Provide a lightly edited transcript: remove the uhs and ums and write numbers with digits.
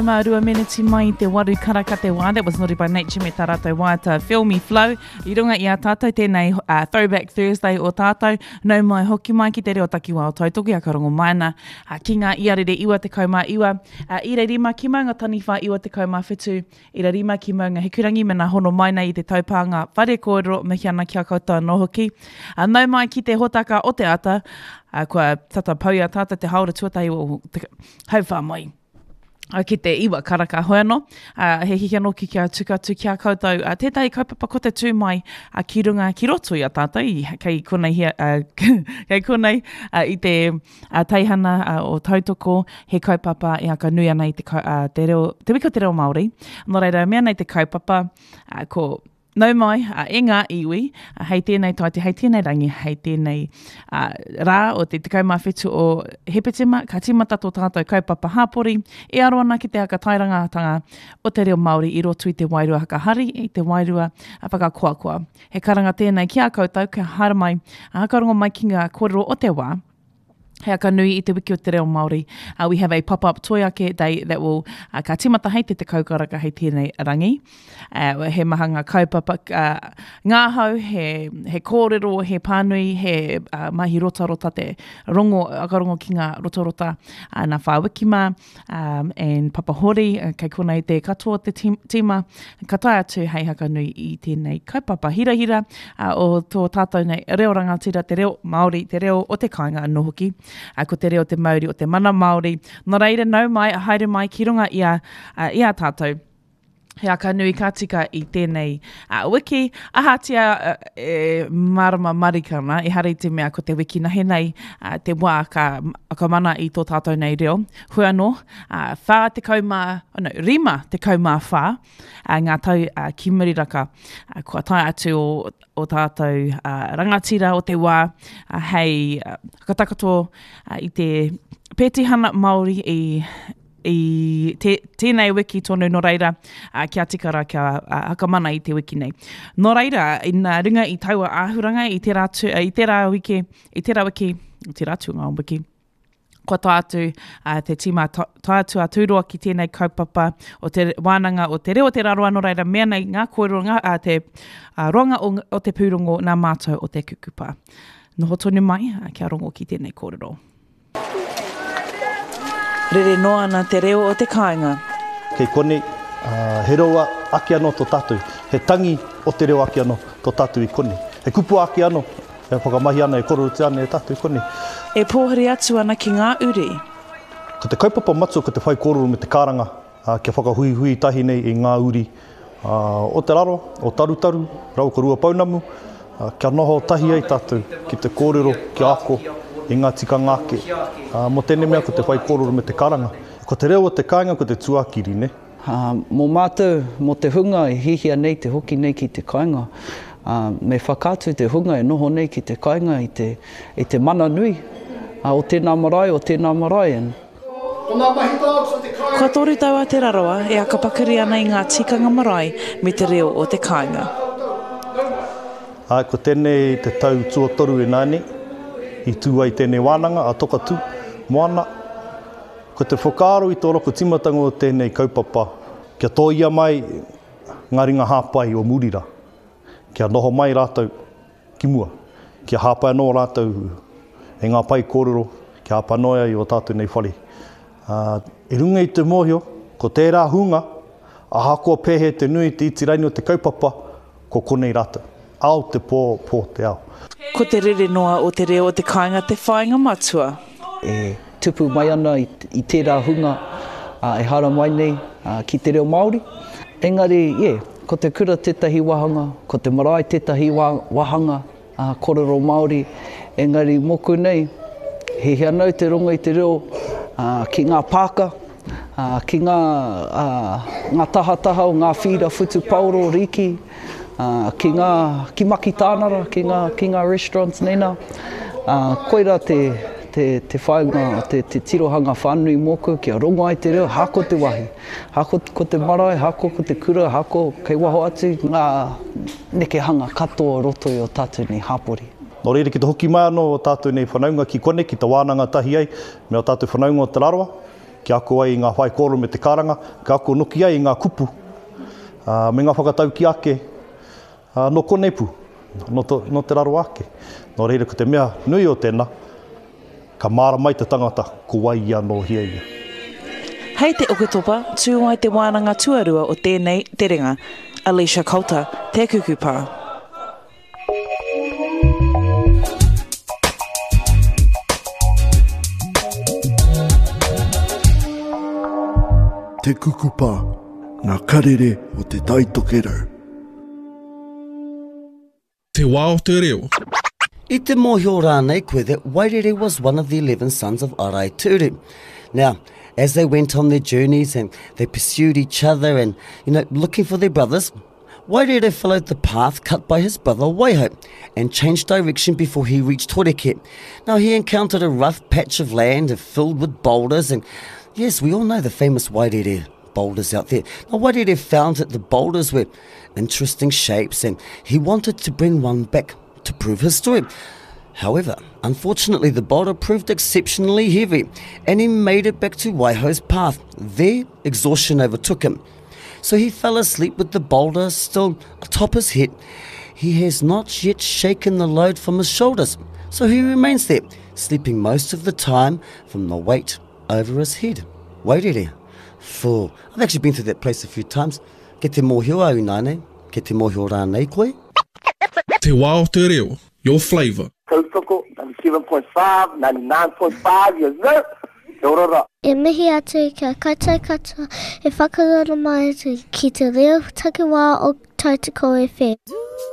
12 meneti mai i te waru karaka te wā, that was Naughty by Nature me tā rātou waiata Feel Me Flow. I runga i a tātou tēnei uh, Throwback Thursday o tātou, nau mai hoki mai ki te reo takiwā o Tautoki a Karongo Maina, uh, ki ngā iarere 99, uh, ira rima ki Maunga Taniwha 97, ira rima ki Maunga Hikurangi me nā hono mai nei i te taupānga whare kōrero, mihi ana ki a koutou anō hoki. Uh, nau mai ki te hōtaka o te ata, uh, kua tata pau i a tātou te haora tuatahi o te hauwhā mai. ki te iwa karaka hoi anō, uh, he hihi anō ki kia tuku atu ki a koutou uh, tētahi kaupapa ko te tū mai uh, ki runga ki roto i a tātou, i, kei konei, hia, uh, kei konei uh, i te uh, teihana uh, o Tautoko, he kaupapa e aka nui ana i te, uh, te, reo, te wiki o te reo Māori. Nō reira, mea nei te kaupapa, uh, ko Nau mai, a, e ngā iwi, a, hei tēnei taite, hei tēnei rangi, hei tēnei a, rā o te 17 o Hepetema, ka tīmata tō tātou kaupapa hāpori e aro ana ki te hakatairangatanga o te reo Māori i roto i te wairua hakahari, i te wairua whakakoakoa. He karanga tēnei ki a koutou kia haere mai, a, hakarongo mai ki ngā kōrero o te wā, He aka nui i te wiki o te reo Māori. Uh, we have a pop-up toi ake day that will, uh, ka timata hei te tekau karaka hei tēnei rangi. Uh, he maha ngā kaupapa, uh, ngāhau, he, he kōrero, he pānui, he uh, mahi rotarota te rongo, akarongo ki ngā rotarota uh, nā whā wiki mā um, and Papa Hori, uh, kei konei te katoa te tīma, ka tae atu hei hakanui i tēnei kaupapa hirahira uh, o tō tātou nei reo rangatira, te reo Māori, te reo o te kāinga anō hoki, uh, ko te reo te mauri o te mana Māori. Nō reira, nau mai, haere mai ki runga i a, uh, i a tātou. He aka nui ka tika i tēnei uh, wiki. Ahatia uh, e marama marika ana, ehara i te mea ko te wiki nahe nei uh, te wā ka, ka mana i tō tātou nei reo. Hoi anō, uh, whā tekau mā, oh no, rima tekau mā whā, uh, ngā tau uh, ki muri raka, uh, kua tae atu o, o tātou uh, rangatira o te wā uh, hei uh, whakatakoto uh, i te pētihana Māori i i te, tēnei wiki tonu, nō reira, uh, kia tika rā, kia uh, hakamana i te wiki nei. Nō reira, ina runga i taua āhuranga, i tērā, tu, i tērā wiki, i tērā wiki, i tērā atu ngā wiki, kua tae atu uh, te tīma tae atu a Tūroa ki tēnei kaupapa o te wānanga o te reo o te Rarawa, nō reira, mea nei ngā kōrero, ngā, uh, te uh, roanga o, o te pūrongo nā mātou o te kukupa. Noho tonu mai, uh, kia rongo ki tēnei kōrero. Rere noa ana te reo o te kāinga. Kei konei, he reo ake anō tō tātou, he tangi o te reo ake anō tō tātou i konei. He kupu ake anō e whakamahia ana, e kōrerotia ana e tātou i konei. E pōhiri atu ana ki ngā uri. Ko te kaupapa matua ko te whaikōrero me te karanga kia whakahuihui tahi nei i ngā uri o Te Rarawa, o Tarutaru, rāua ko Ruapounamu, kia noho tahi ai tātou ki te kōrero, kia ako i ngā tikanga ake. Mō tēnei mea ko te whaikōrero me te karanga. Ko te reo o te kāinga ko te tuakiri, nē? Mō mātou, mō te hunga e hihia nei te hoki nei ki te kāinga, me whakaatu te hunga e noho nei ki te kāinga i te, i te mana nui o tēnā marae, o tēnā marae. And. Kua toru tau a Te Rarawa e akapakari ana i ngā tikanga marae me te reo o te kāinga. Āe, ko tēnei te tau tuatoru ināianei i tū ai tēnei wānanga a Tokatū Moana. Ko te whakaaro i tō roko tīmatanga o tēnei kaupapa, kia tōia mai ngā ringa hāpai o muri rā, kia noho mai rātou ki mua, kia hāpai anō rātou e ngā pae kōrero, kia hāpai anō ai i ō tātou nei whare. Ā, i runga i te mōhio, ko tērā hunga, ahakoa pēhea te nui, te iti raini o te kaupapa, ko konei rātou. Ao te pō, pō te ao. Ko te rere noa o te reo o te kāinga te whāinga matua. E tupu mai ana i tērā hunga e haramai nei ki te reo Māori. Engari, yeah, ko te kura tētahi wāhanga, ko te marae tētahi wāhanga kōrero Māori, engari mōku nei, he hea nau te rongo i te reo ki ngā pāka, ki ngā, ngā tahataha o ngā whīra whutupaoro rīki, ki ngā, ki Makitānara, ki ngā, ki ngā restaurants nei nā. Koirā te, te, te whāinga, te, te tirohanga whānui mōku, kia rongo ai te reo, hako te wāhi. Hako ko te marae, hako ko te kura, hako kei waho atu ngā nekehanga katoa o roto i o tātou nei hāpori. Nō reira, ki te hoki mai anō o tātou nei whanaunga ki konei, ki te wānanga tahi ai me o tātou whanaunga o Te Rarawa. kia ako ai i ngā whaikōrero me te karanga, ka ako noki ai i ngā kupu, ā, me ngā whakataukī ake, ā, nō konei pū, nō, to, nō te raro ake. Nō reira, ko te mea nui o tēnā, ka mārama ai te tangata ko wai ia nō hea ia. Hei te Oketopa, tū ai te wānanga tuarua o tēnei terenga. Alicia Coulter, Te Kuku Pā. Te Kukupa, ngā karere o Te Tai Tokerau. Te wā o te reo. I te mōhio rānei koe that Wairere was one of the 11 sons of Araiteuru. Now, as they went on their journeys and they pursued each other and, you know, looking for their brothers, Wairere followed the path cut by his brother Waiho and changed direction before he reached Horeke. Now, he encountered a rough patch of land filled with boulders and, yes, we all know the famous Wairere boulders out there. Now, Wairere found that the boulders were interesting shapes and he wanted to bring one back to prove his story. However, unfortunately, the boulder proved exceptionally heavy and he made it back to Waiho's path. There, exhaustion overtook him. So he fell asleep with the boulder still atop his head. He has not yet shaken the load from his shoulders, so he remains there, sleeping most of the time from the weight over his head. Wairere. Full. I've actually been through that place a few times. Ke te mōhio au ināianei, ke te mōhio rānei koe? Te wā o te reo, your flavour. Tautoko, 97.5, 99.5, yes sir! Kia ora ra. E mihi atu ki a koutou katoa e whakaroro mai ana ki te reo takiwā o Tautoko FM.